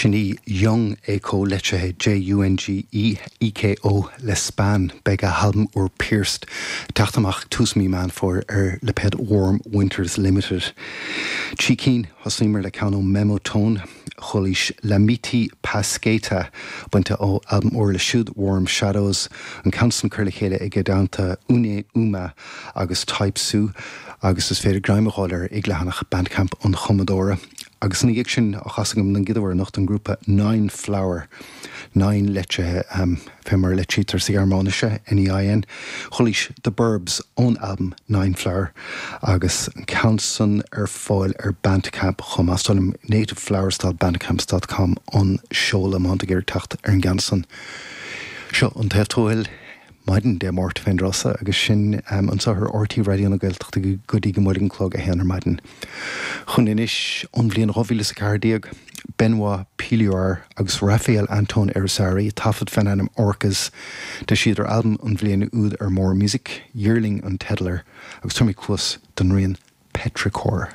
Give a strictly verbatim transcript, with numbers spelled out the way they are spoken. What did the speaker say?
Sin í Jung Eko litrithe J U N G E E K O le Span. Beidh a halbam úr Pierced teacht amach tús mí Meán Fómhair ar lipéad Warm Winters Limited. Trí cinn. Thosaíomar le ceann ó Memotone, chualaís Lamiti Pasqueta bainte ó albam úr leo siúd, Warm Shadows, an ceann san curtha le chéile ag dteannta Une Uma agus Type Su, agus is féidir greim a fháil air ag leathanach Bandcamp an chumadóra. Agus ina dhiaidh sin, á chasadh agam den gcéad uair anocht, an grúpa Nine Flower, Nine litrithe um, fé mar litrítear sa Ghearmáinis, N E I N. Chualaís The Burbs ón album Nine Flower agus an ceann san ar fáil ar Bandcamp chomh maith, nativeflowers dot bandcamp dot com an seoladh má tá teacht ar an gceann san. Seo An Taobh Tuathail, maidin Dé Máirt féin drosa agus sin um, anseo ar R T Raidió na Gaeltachta go dtí go mbuailfidh an clog a haon ar maidin. Chun anois ón bhliain dhá mhíle is a ceathair déag, Benoit Pioulard agus Raphael Anton Irizarry, taifead faoin ainm Orcas. D'eisigh siad albam an bhliain úd ar Morr Music, Yearling an teideal air, agus tabharfaidh mé cluas don rian Petrichor.